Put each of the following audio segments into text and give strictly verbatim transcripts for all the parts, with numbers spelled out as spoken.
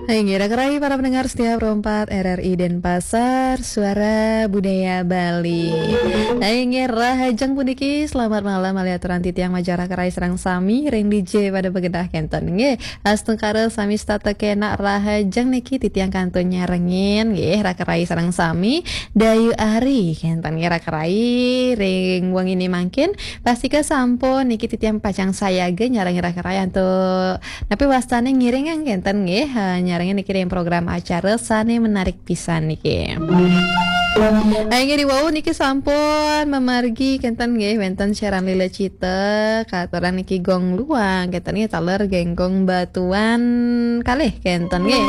Hai, nggih, raka rai para pendengar setia Pro empat R R I Denpasar, Suara Budaya Bali. Hai, nggih, rahajeng puniki, selamat malam, malih aturan titiang majeng raka rai sareng sami, ring D J pada begedah kenten, nggih. Astungkara sami setata kenak rahajeng niki titiang kantun nyarengin, nggih, raka rai sareng sami, Dayu Ari, kenten, nggih, raka rai, ring wengi ini mangkin, pastika sampun niki titiang pacang sayaga nyarengin raka rai antuk Napi wastane ngiring kenten nggih, eh, nyarengin niki ring program acara sane menarik pisan niki. Inggih, riwau niki sampun mamargi kenten nggih, wenten Sharon Lila Cita, katurang niki Gong Luang, kenten nggih, taler Genggong Batuan kalih kenten nggih.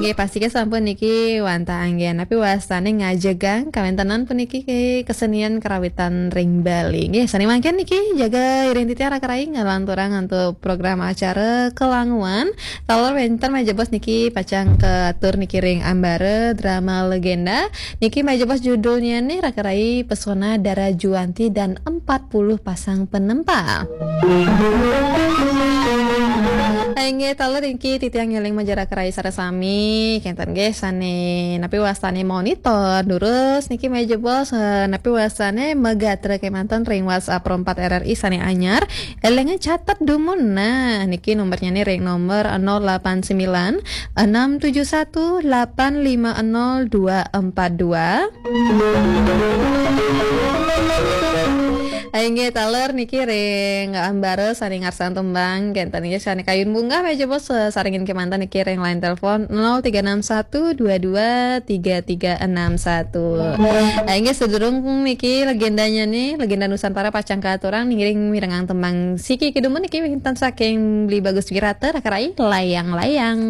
Inggih, pastika sampun niki wantah anggen, napi wastane ngajegang kawentenan puniki ke kesenian kerawitan ring Bali. Nggih, sane mangkin niki jaga iring titiang raka rai ngalanturang antuk program acara Kelanguan. Taler wenten malih jebos niki pacang katur niki ring Ambara Drama Legenda. Niki malih jebos judulnya nih raka rai Pesona Dara Juanti dan empat puluh Pasang Penempal. Inggih, taler niki titiang ngeling majeng raka rai sareng sami, kenten nggih sane napi wastane monitor, durus niki malih jebos, eh, napi wastane magatra kemanten ring WhatsApp Pro empat R R I sane anyar, elinga catet dumun. Nah, niki nomornya nih ring nomor nol delapan sembilan enam tujuh satu delapan lima nol dua empat dua. Inggih, taler niki ring Ambara sane ngarsan tembang, kenten nggih sane kayun munggah malih jebos, eh, sarengin kemanten niki ring line telepon nol tiga enam satu dua dua tiga tiga enam satu. Inggih, sadurung niki legendanya nih, legenda Nusantara pacang katurang, ngiring mirengang tembang siki kedumun niki wenten saking Beli Bagus Wirata, raka rai layang-layang.